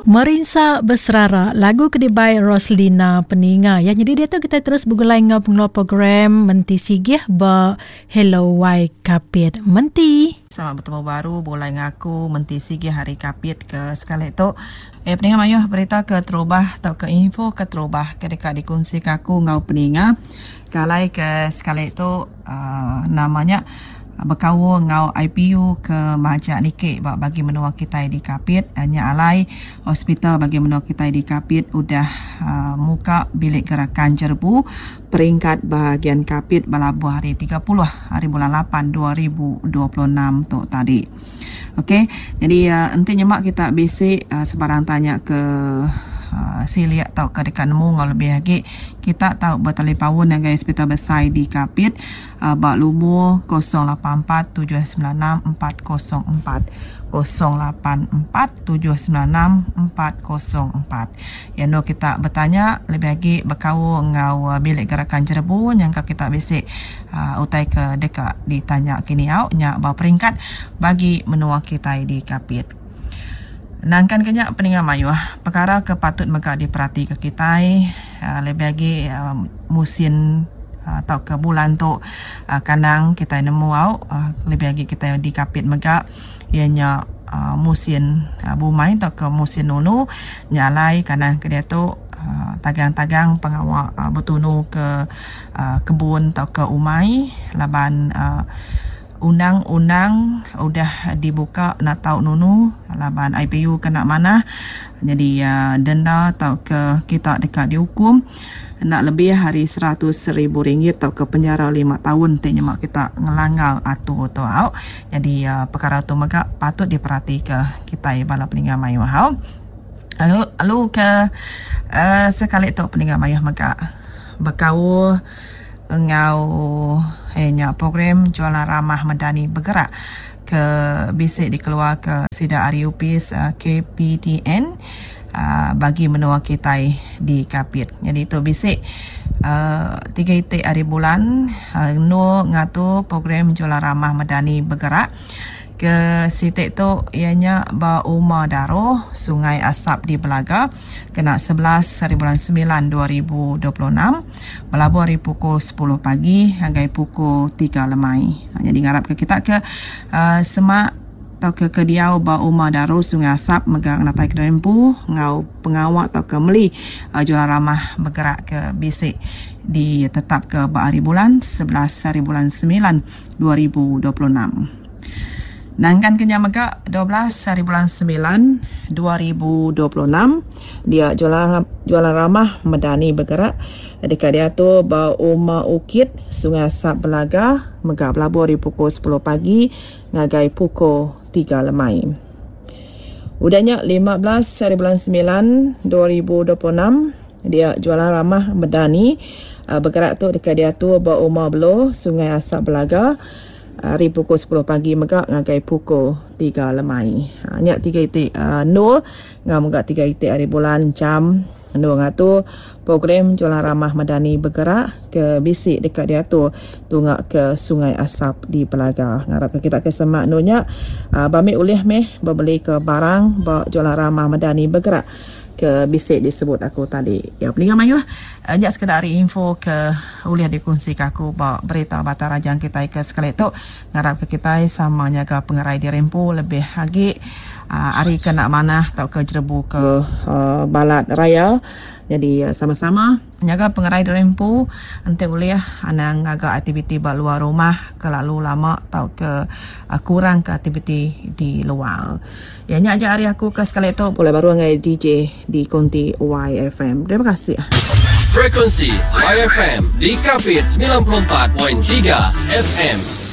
Merinsa Beserara, lagu ke dibai Roslina Peninga. Ya, nyadi diatu kitai terus begulai enggau pengeluar program Menti Sigih ba Hello Y Kapit. Menti. Selamat betemu baru begulai enggau aku Menti Sigih ari Kapit ke sekali tu. Eh peninga mayuh berita ke terubah tauka info ke terubah ke deka dikunsika aku enggau peninga ke alai ke sekali tu uhh nama nya bekaul enggau IPU ke majak niki ba bagi menua kitai di Kapit. Nya alai hospital bagi menua kitai di Kapit udah uhh muka bilik gerakan jerebu peringkat bahagian Kapit belabuh hari 30 hari bulan 8 2026 tu tadi. Okey jadi enti nyema kita bisi sebarang tanya ke silik tauka deka nemu enggau lebih agi kita tau betalipaun ngagai hospital besai di Kapit ba lumur 084 796 404 084 796 404. Iya endur kita betanya lebih agi bekaul enggau bilik gerakan jerebu nyangka kita bisi utai ke deka ditanya kini au nya ba peringkat bagi menua kitai di Kapit. Nangkan ke nya peninga mayuh pekara ke patut mega diperatika kitai lebih agi musin tauka bulan tu kandang kitai nemu au lebih agi kitai di Kapit mega iya nya musin bumai tauka musin nunu nya alai kandang ke diatu tagang-tagang pengawa betunu ke kebun tauka umai laban Undang-undang udah dibuka enda tau nunu laban IPU kena manah nyadi denda tauka kita deka diukum enda lebih ari 100,000 ringgit tauka penjara lima taun ti nyema kita ngelanggar atur tu au. Nyadi pekara tu mega patut diperatika kitai bala peninga mayuh au. Lalu lalu ke sekali tu peninga mayuh mega bekaul enggau iya nya program Jualan Ramah Medani Bergerak ke bisi dikeluarka sida ari opis KPDN bagi menua kitai di Kapit. Nyadi tu bisi tiga iti hari bulan endur ngatur program Jualan Ramah Medani Bergerak. Ke siti tu iya nya ba Uma Daro, Sungai Asap di Belaga kena 11 haribulan 9 2026 belabuh ari pukul 10 pagi ngagai pukul 3 lemai. Nyadi ngarapka kita ke uhh semak tauka ke diau ba Uma Daro, Sungai Asap mega ngenatai kediri empu enggau pengawa tauka meli jualan ramah begerak ke bisi ditetapka ba haribulan 11 haribulan 9 2026. Nangkan ke nya mega 12 hari bulan 9 2026 dia jualan jualan ramah Medani Bergerak deka diatur ba Uma Ukit Sungai Asap Belaga mega belabuh ari pukul 10 pagi ngagai pukul 3 lemai. Udah nya 15 hari bulan 9 2026 dia jualan ramah Medani Bergerak tu deka diatur ba Uma Belo Sungai Asap Belaga Ari pukul 10 pagi mega ngagai pukul 3 lemai. Ha, nya tiga iti uh, endur enggau mega tiga iti hari bulan jam endur ngatur program Jualan Ramah Madani Bergerak ke bisi deka diatur tunga ke Sungai Asap di Belaga. Ngarap ke kita ke semak endur nya uh, bambi ulih meh bebeli ke barang ba Jualan Ramah Madani Bergerak ke bisi disebut aku tadi. Ya peninga mayuh nya sekeda ari info ke ulih dikunsika aku ba berita Batang Rajang kitai ke sekali tu. Ngarapka kitai sama nyaga pengerai diri empu lebih agi ari ke enda manah tauka jerebu ke balat raya. Nyadi sama-sama nyaga pengerai diri empu enti ulih anang ngaga aktiviti ba luar rumah kelalu lama tauka kurangka aktiviti di luar. Ya nya aja ari aku ke sekali tu pulai baru ngagai DJ di konti YFM. Terima kasih. Frekuensi YFM di Kapit 94.3 FM.